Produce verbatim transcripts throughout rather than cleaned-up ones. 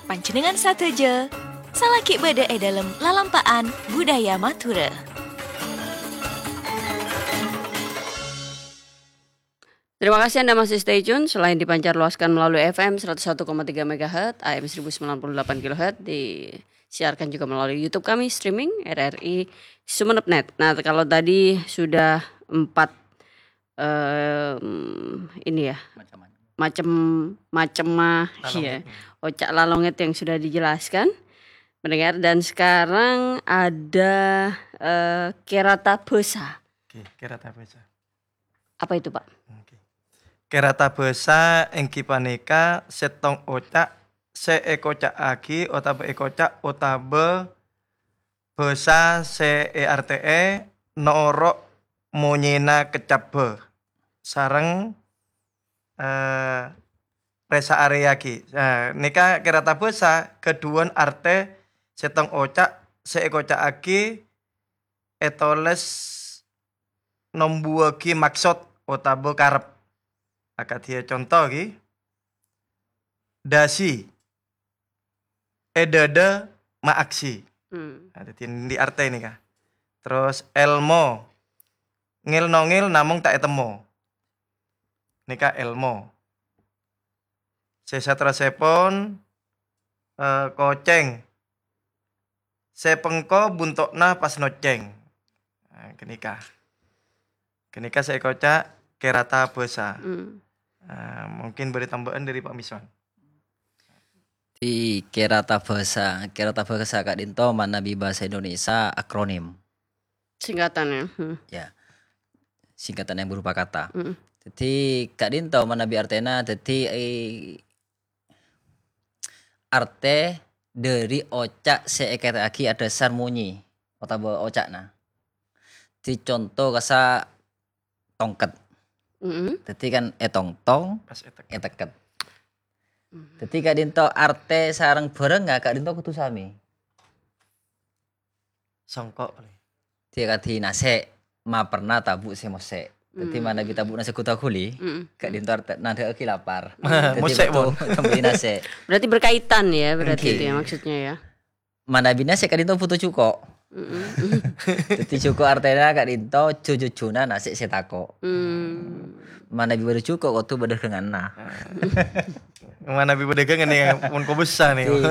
Panjhennengngan sadhâjâ, salaghi bâdâ è dâlem lalampa'an budaya Madhurâ. Terima kasih Anda masih stay tune. Selain dipancar luaskan melalui F M seratus satu koma tiga megahertz, A M seribu sembilan puluh delapan kilohertz, disiarkan juga melalui YouTube kami, streaming R R I Sumenep net. Nah, kalau tadi sudah empat, em, ini ya, macam-macam mah, ya, ocak lalongèt yang sudah dijelaskan, mendengar. Dan sekarang ada, eh, kerata bhâsa. Oke, kerata bhâsa. Apa itu, Pak? Oke. Kerata bhâsa èngghi panèka sèttong oca' sè èkoca'aghi otabâ èkoca' otabâ bhâsa sè èartè'è noro' monyèna kecabbhâ sareng, eh, rèsa arèyaghi. Nah, nèka kerata bhâsa ghâdhuwân artè sèttong oca' sè èkoca'aghi ètolès nombuwâghi maksod otabâ karep. Akadhi conto ghi, dâsi, è dâdâ maaksi. Hmm. Nah, dhâddhi endi artè nèka? Terros èlmo, ngèl-nongèl namong ta' ètemmo. Nèka èlmo. Sè saterrossèpon, eh, kocèng. Sè pengko bunto'na pas noccèng. Nah, ghânèka. Ghânèka sè èkoca' kerata bhâsa. Hmm. Nah, mungkin bâdâ tambâ'ân dâri Pak Miswan. Di kerata bhâsa, kerata bhâsa ka'dinto manabi bhâsa Indonesia akronim. Singkatan, ya. Hmm. Ya. Singkatan yang berupa kata. Hmm. Jadi, ka'dinto manabi artèna, jadi, eh, artè dâri oca' sè èkèrè'aghi adhâsar monyi otabâ oca'na. Di conto kassa' tongket. Mm-mm. Dhâddhi kan ètongtong, pas èteket. Èteket. Mm. Dhâddhi ka'dinto artè sareng bhârângnga ka'dinto kodhu samè. Songko'. Dhâddhi kadhi nasè', ma perna tabu' sè mosè'. Dhâddhi, mm, manabi tabu'na sè ghudâ ghuli, mm, ka'dinto artè nadhâ'âghi lapar. Dhâddhi, mosè', kodu, pon, tambâi nasè'. Berarti berkaitan ya, berarti. Ngghi. Itu ya maksudnya ya. Manabi nasè' ka'dinto bhuto jhuko'. Mm-mm. Dhâddhi jhuko' artèna ka'dinto jhujhujhuna nasè' sè tako'. Hmm. Manabi bâdâ jhuko' kodhu bâdâ ghânganna. Manabi bâdâ ghângan nèka pon kobâsa nèka. Di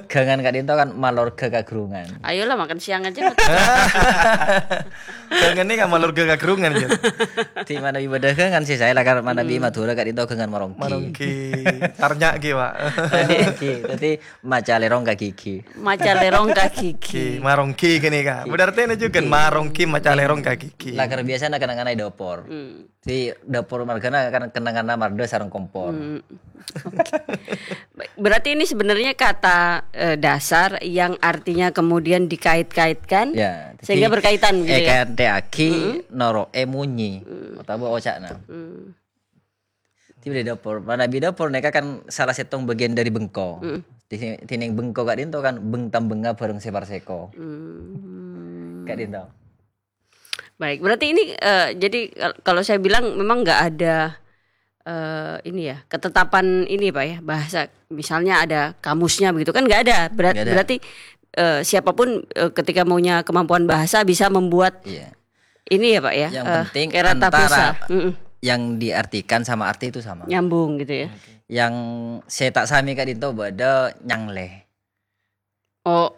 ghângan ka'dinto kan malorga kaghârungan. Ayolah, makan siang aja. Ghângan nèka malorga kaghârungan, Jon. Di manabi bâdâ ghângan sè saè la kan manabi, hmm, Madhurâ ka'dinto ghângan maronggi. Maronggi. Tarnya' ghi, Pak. Dhâddhi, dhâddhi maca lèrong ka ghighi. Maca lèrong ka ghighi. Ghi, maronggi ghânèka. Ghi. Berarti ini juga ghi. Maronggi maca lèrong ka ghighi. Lakar biasana kenangan è dâpor. Hmm. Di dâpor marghâna kan kenanganna mardhâ sareng kompor. Hmm. Oke. Baik, berarti ini sebenarnya kata, eh, dasar yang artinya kemudian dikait-kaitkan, ya, sehingga jadi berkaitan gitu ya? Èkantè'aghi, mm-mm, noro'è monyi, mm, otabâ oca'na. Mm. Di bâdâ dâpor. Manabi dâpor nèka kan salah sèttong bâgiyân dâri bengko. Mm. Di, dinèng bengko ka'dinto kan beng-tambhengnga bhâreng sè parsèko. Mm. Ka'dinto. Baik, berarti ini, eh, jadi kal-, kalau saya bilang memang nggak ada, eh, ini ya, ketetapan ini, Pak, ya, bahasa misalnya ada kamusnya begitu kan nggak ada. Berat-, nggak ada. Berarti, eh, siapapun, eh, ketika maunya kemampuan bahasa bisa membuat, iya, ini ya, Pak, ya, yang eh, penting kerata antara bhâsa. Mm-mm. Yang diartikan sama arti itu sama. Nyambung gitu ya. Oke. Yang sè ta' samè ka'dinto bâdâ nyanglè. Oh,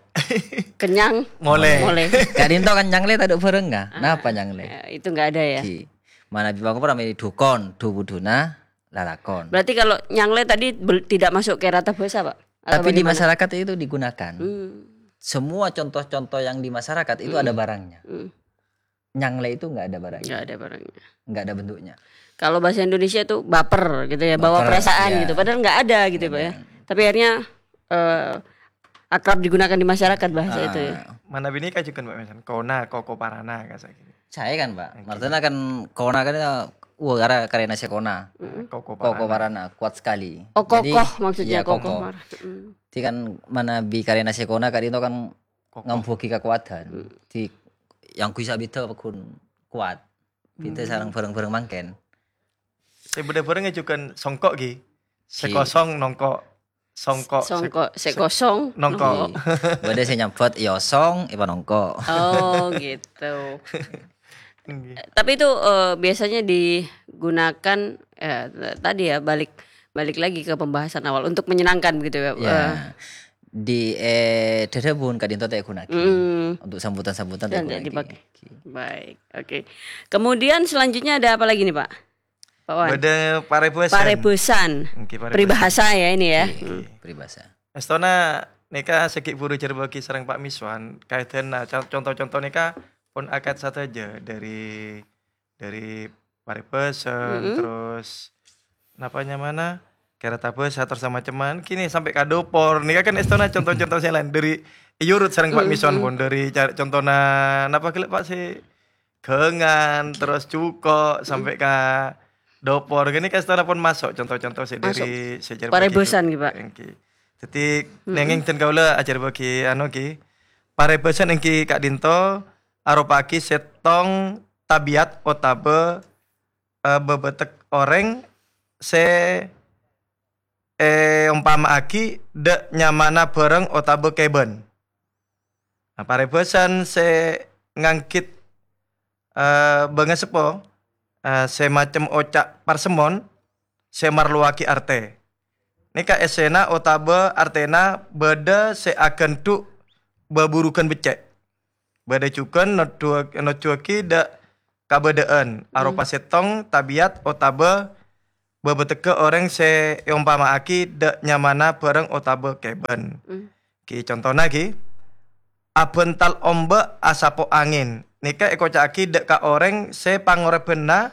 kenyang. Molè. Molè. Ka'dinto kan nyanglè tadâ' bhârângnga. Ah, napa nyanglè? Ya, itu nggak ada ya. Ghi. Manabi bengko pramè dhukon, dhu-budhuna lalakon. Berarti kalau nyanglè tadi bel-, tidak masuk kerata bhâsa, Pak? Atau bagaimana? Tapi di masyarakat itu digunakan. Hmm. Semua contoh-contoh yang di masyarakat itu, hmm, ada barangnya. Hmm. Nyanglè itu nggak ada barangnya. Nggak ada barangnya. Nggak ada bentuknya. Kalau bahasa Indonesia itu baper gitu ya, bawa perasaan gitu. Baper, ya. Padahal nggak ada gitu, Pak, ya. Nggak ada. Tapi akhirnya, eh, akrab digunakan di masyarakat bahasa itu ya. Ah. Manabi nèka jhughân, Pak, misalnya kona, koko parana, kasa gitu. Saè kan, Pak. Oke. Maksudnya kan kona kan, wah, karè-, karèna sè kona. Mm-mm. Koko parana. Koko parana, kuat sekali. Oh, jadi, kokoh maksudnya, iya, kokoh. Kokoh parana. Mm. Jadi kan manabi karèna sè kona ka'dinto kan kokoh. Ngambuwâghi kakowadhân. Hmm. Di, yang bisa bhidhâ paggun kowat. Bhidhâ, hmm, sareng bhârâng-bhârâng mangkèn. Sè bâdâ bhârâng jhughân songko' ghi. Sè, ghi, kosong nongko'. Songko', sè-, songko', sè-, sè-, kosong, nongko'. Nongko'. Bâdâ sè nyambhut, èosong, èpanongko'. Oh, gitu. Ngghi. Tapi itu, eh, biasanya digunakan, eh, tadi ya, balik, balik lagi ke pembahasan awal, untuk menyenangkan begitu ya, eh. Di, eh, dhâdhâbun ka'dinto ta' èghunaghi. Mm. Untuk sambutan-sambutan ta' èghunaghi. Dipakai. Oke. Baik, oke. Kemudian selanjutnya ada apa lagi nih, Pak? Pak Wan. Bâdâ parèbhâsan. Parèbhâsan. Oke, parèbhâsan. Peribahasa ya ini ya. Oke, oke, peribahasa. Èstona nèka sè ghi' bhuru èjhârbâ'âghi sareng Pak Miswan, kaèdhâna con-, conto-conto nèka pon akad sadhâjâ, dâri, dâri parèbhâsan, terros napa nyamana, kèrata bhâsa, terros samacemman, kènè sampè' ka dopor. Nèka kan èstona conto-conto sè laèn, dâri èyurut sareng Pak Miswan pon, dâri ca-, contona napa ghellâ', Pak, sè ghângan, terros jhuko', sampè' ka dopor. Kènè kan èstona pon maso' conto-conto sè dâri sè èjhârbâ'âghi. Parèbhâsan, ghi, Pak. Èngghi. Dâddhi, nangèng dân kaulâ ajhârbâ'âghi, anu, ghi. Parèbhâsan èngghi ka'dinto aropa'aghi sèttong tabiat otabâ, eh, bâbâtek orèng sè èompama'aghi dâ' nyamana bhârâng otabâ kèbân. Nah, parèbhâsan sè nganggit, eh, bângaseppo, eh, sè macem oca' parsemmon sè marlowaghi artè. Nèka èssèna otabâ artèna bâdâ sè aghândhu' bâburughân beccè'. Bâdâ jhughân noddhu-, nojjhuwâghi dâ' kabâdâ'ân, aropa sèttong tabiat otabâ bâbâtegghâ orèng sè èompama'aghi dâ' nyamana bhârâng otabâ kèbân. Ghi, contona ghi, abhântal ombâ' asapo angèn. Nèka èkoca'aghi dâ' ka orèng sè pangorèbhânna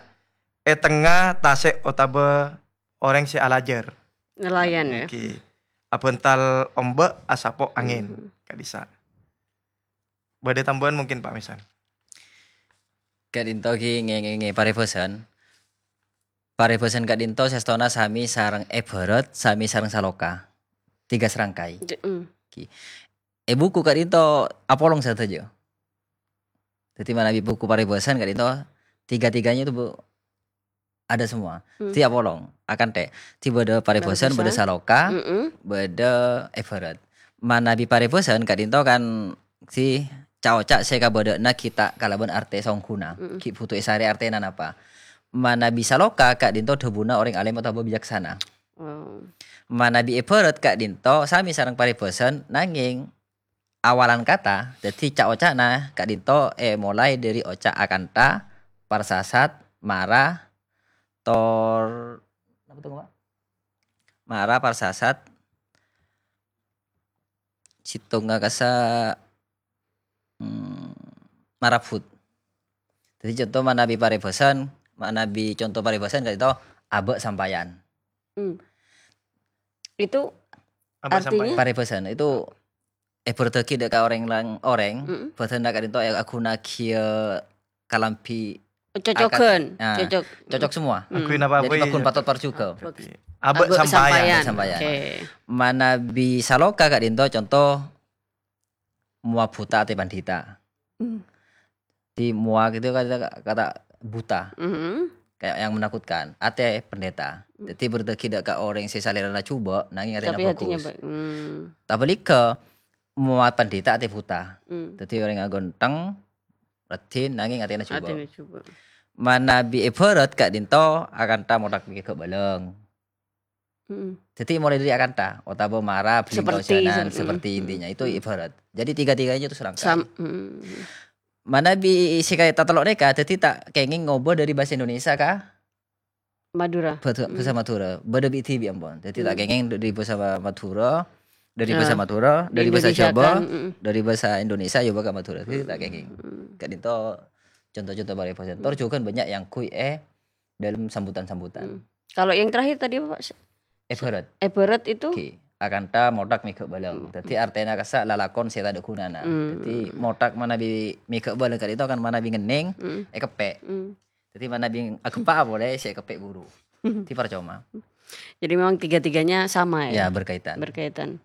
è tengnga tasè' otabâ orèng sè alajâr. Nelayan, ya. Ghi, abhântal ombâ' asapo angèn. Ka'dissa'. Bâdâ tambâ'ân mungkin, Pak Miswan? Ka'dinto ghi ngè-, ngè-, ngè-, parèbhâsan. Parèbhâsan ka'dinto sèstona sami sareng èbhârât, sami sareng saloka. Tiga serangkai. Ghi. È buku ka'dinto apolong sadhâjâ. Dâddhi manabi buku parèbhâsan ka'dinto, tiga-tiganya itu, Bu, ada semua. Dâddhi apolong, akantè. Dâddhi bâdâ parèbhâsan, bâdâ saloka, bâdâ èbhârât. Manabi parèbhâsan ka'dinto kan sè ca'-oca' sè kabâdâ'ânna ghi' ta' kalabân artè songghuna. Ghi' bhuto èsarè artèna napa. Manabi saloka ka'dinto dhâbuna orèng alèm otabâ bicaksana. Manabi èbhârât ka'dinto sami sareng parèbhâsan, nangèng awalan kata, dâddhi ca'-oca'na ka'dinto èmolaè dâri oca' akantha, parsasat, mara, tor-, napa to, Pak? Mara, parsasat, sèttongnga kassa', mm, marabut. Dâddhi conto manabi parèbhâsan, manabi conto parèbhâsan ka'dinto abâ' sampayan. Itu artinya? Parèbhâsan itu èbhârâddhâghi dâ' ka orèng lang-, orèng, bâdânna ka'dinto èaghunaghi kalambhi cocogân. Nah, cocok. Cocok semua. Aghuy napa. Jadi, paggun patot parjhughâ. Abâ' sampayan. Abâ' sampayan. Oke. Manabi saloka ka'dinto conto mowa buta atè pandhita. Di mowa gitu kata, kata buta. Kayak yang menakutkan. Atè pendeta. Dâddhi bhârâddhâghi dâ' ka orèng sè salèrana jhubâ', nangèng atèna bagus. Tapi hatinya baik. Tabâligghâ, mowa pandhita atè buta. Dâddhi orèng aghânteng, raddhin, nangèng atèna jhubâ'. Atèna jhubâ'. Manabi èbhârât ka'dinto akantha mothak mèghâ' bâlâng. Jadi mulai dari akantha, otabâ mara, bhâlingka, seperti, ojanan, seperti intinya. Itu ibarat. Jadi tiga-tiganya itu serangkai. Manabi sè kaya tatello' nèka, jadi ta' kèngèng ngobâ dari bahasa Indonesia ka Madura. Bahasa, bahasa Madura. Bâdâ bi' dhibi' ampon. Jadi ta' kèngèng dari bahasa Madura, dari bahasa Madura, dari bahasa Jawa, dari bahasa Indonesia, ya, ka Madura. Jadi ta' kèngèng. Ka'dinto contoh-contoh paribhâsa. Tor jhughân bânnya' yang kui, eh, dalam sambutan-sambutan. Kalau yang terakhir tadi apa, Pak? Èbhârât. Èbhârât itu? Akantha mothak mèghâ' bâlâng. Dâddhi artèna kassa' lalakon sè tadâ' ghunana. Dâddhi mothak manabi mèghâ' bâlâng ka'dinto kan manabi ngennèng, èkeppè'. Dâddhi manabi aghempa' polè sè èkeppè' buru. Dâddhi parcoma. Jadi memang tiga-tiganya sama ya? Ya, berkaitan. Berkaitan.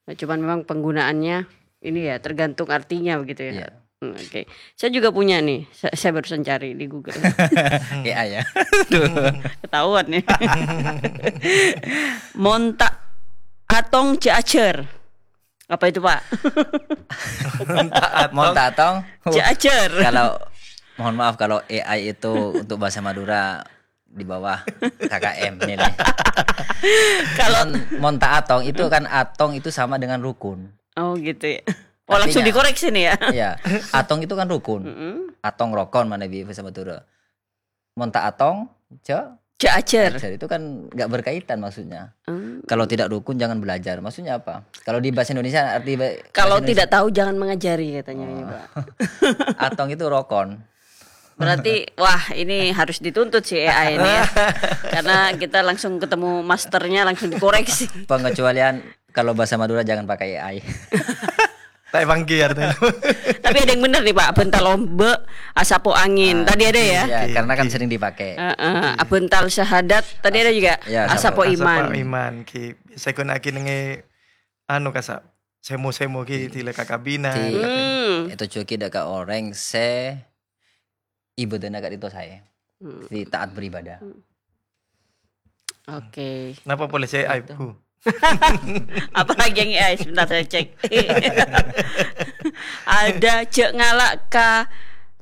Nah, cuman memang penggunaannya ini ya, tergantung artinya begitu ya? Iya. Hmm, oke. Saya juga punya nih, sa-, saya barusan cari di Google. A I ya. Aduh. Ketahuan nih. Mon ta' atong jhâ' ajhâr. Apa itu, Pak? Mon ta' atong. Mon ta' atong. Jhâ' ajhâr. Kalau, mohon maaf, kalau A I itu untuk bahasa Madura di bawah K K M ini. Kalau mon, mon ta' atong itu kan, atong itu sama dengan rukun. Oh, gitu ya. Oh, langsung dikoreksi nih ya. Iya. Atong itu kan rukun. Mm-mm. Atong rokon manabi bahasa Madura. Mon ta' atong, jhâ', jhâ' ajhâr. Ajhâr itu kan nggak berkaitan maksudnya. Hmm. Kalau tidak rukun, jangan belajar. Maksudnya apa? Kalau di bahasa Indonesia, arti ba-, kalau bahasa Indonesia tidak tahu, jangan mengajari, katanya ini, Pak. Atong itu rokon. Berarti, wah, ini harus dituntut si A I ini ya. Karena kita langsung ketemu masternya, langsung dikoreksi. Pengecualian kalau bahasa Madura jangan pakai A I. Ta' èpangghi artèna. Tapi ada yang bener nih, Pak. Abhântal ombâ', asapo angin. Ah, tadi ada ya? Iya, karena kan sering dipakai. Heeh. Abhântal syahadat, tadi ada juga. Iya, asapo iman. Asapo iman, ki. Biasa ghun aki nèngè, anu, kasa', semo-semo ki, di, dilè ka kabinet. Di, hmm, itu juga tidak ke orang se ibadahnya kayak itu saya. Hmm. Di taat beribadah. Hmm. Oke. Napa polè sè aib, Bu? Apa lagi yang A I? Sebentar saya cek. Ada jhâ' ngala' ka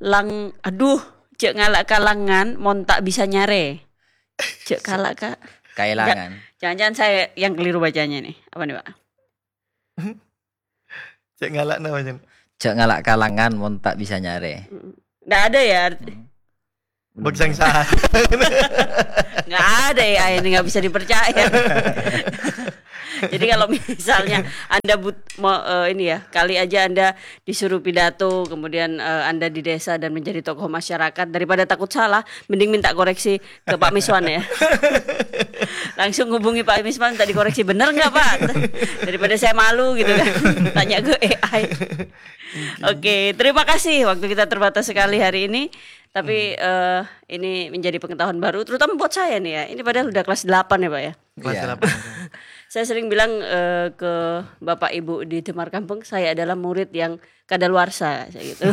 lang-, aduh, jhâ' ngala' ka langan mon ta' bisa nyarè. Jhâ' ngala' ka, kaelangan. Jangan-jangan saya yang keliru bacanya nih. Apa nih, Pak? Cè' ngala' napa, Jen? Jhâ' ngala' ka langan mon ta' bisa nyarè. Mm. Ndak ada ya arti. Hmm. Bek sangsa. Nggak ada ya, ini nggak bisa dipercaya. Jadi kalau misalnya Anda but-, mau, eh, ini ya, kali aja Anda disuruh pidato, kemudian, eh, Anda di desa dan menjadi tokoh masyarakat, daripada takut salah, mending minta koreksi ke Pak Miswan ya. Langsung hubungi Pak Miswan, minta dikoreksi, "Bener nggak, Pak?" Daripada saya malu gitu kan, tanya ke A I. Oke, terima kasih. Waktu kita terbatas sekali hari ini, tapi, eh, ini menjadi pengetahuan baru, terutama buat saya nih ya. Ini padahal udah kelas delapan ya, Pak ya. Kelas delapan. Saya sering bilang, eh, ke Bapak Ibu di Demar Kampung, saya adalah murid yang kadaluarsa, saya gitu.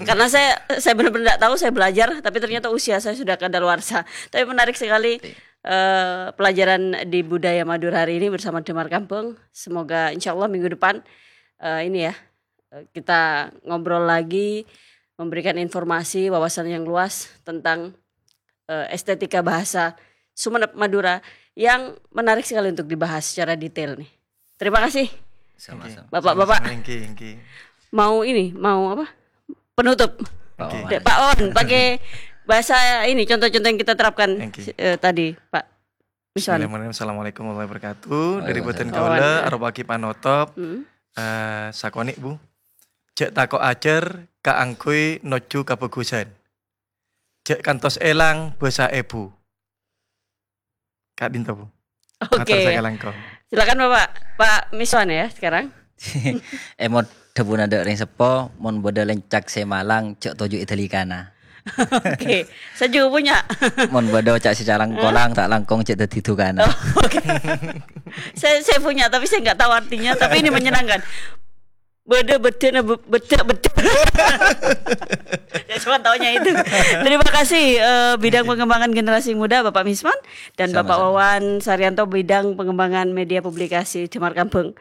Karena saya, saya benar-benar nggak tahu, saya belajar, tapi ternyata usia saya sudah kadaluarsa. Tapi menarik sekali, eh, pelajaran di Budaya Madura hari ini bersama Demar Kampung. Semoga insya Allah minggu depan, eh, ini ya, eh, kita ngobrol lagi, memberikan informasi, wawasan yang luas tentang, eh, estetika bahasa Sumenep Madura yang menarik sekali untuk dibahas secara detail nih. Terima kasih. Sama-sama. Bapak-bapak. Sama-sama, enggih, enggih. Mau ini, mau apa? Penutup. Pak Wawan. Pak Wawan, pakai bahasa ini, contoh-contoh yang kita terapkan, eh, tadi, Pak Miswan. Bismillahirrahmanirrahim. Assalamualaikum warahmatullahi wabarakatuh. Dari bhâdhân kaulâ, aropa'aghi panotop, eh, sakonè', Bu. Jhâ' tako' ajhâr kaangghuy nojjhu kabhâghusân. Jhâ' kantos èlang bhâsa èbhu. Ka'dinto, Bu. Oke. Mator sakalangkong. Silakan, Bapak. Pak Miswan ya sekarang. Èmot dhâbuna dâ' rèng seppo, mon bâdâ lèncak sè malang, jhâ' toju' è dâlikana. Oke. Saya juga punya. Mon bâdâ ca' sè calangkolang, ta' langkong jhâ' dhâddhi dukana. Oh, oke. Saya, saya punya, tapi saya nggak tahu artinya, tapi ini menyenangkan. Bâdâ bâdâna bâ-, bâdâ, bâdâ. Ya, cuma taunya itu. Terima kasih, eh, bidang pengembangan generasi muda, Bapak Miswan, dan Bapak Wawan Saryanto, bidang pengembangan media publikasi Demar Kampung.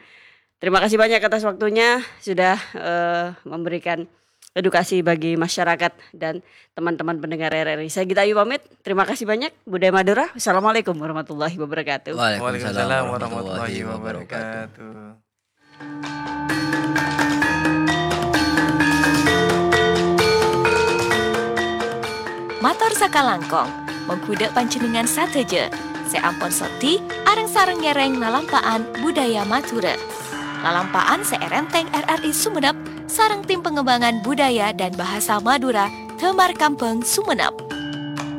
Terima kasih banyak atas waktunya, sudah, eh, memberikan edukasi bagi masyarakat dan teman-teman pendengar R R I. Saya Gita Ayu pamit. Terima kasih banyak. Budaya Madura. Wassalamualaikum warahmatullahi wabarakatuh. Waalaikumsalam warahmatullahi wabarakatuh. Mator sakalangkong, mongghu dâ' panjhennengngan sadhâjâ sè ampon soddhi areng-sareng ngèrèng lalampa'an budaya Madhurâ. Lalampa'an sè èrèntèng R R I Sumenep sareng tim pengembangan budaya dan bahasa Madura Damar Kambang Sumenep.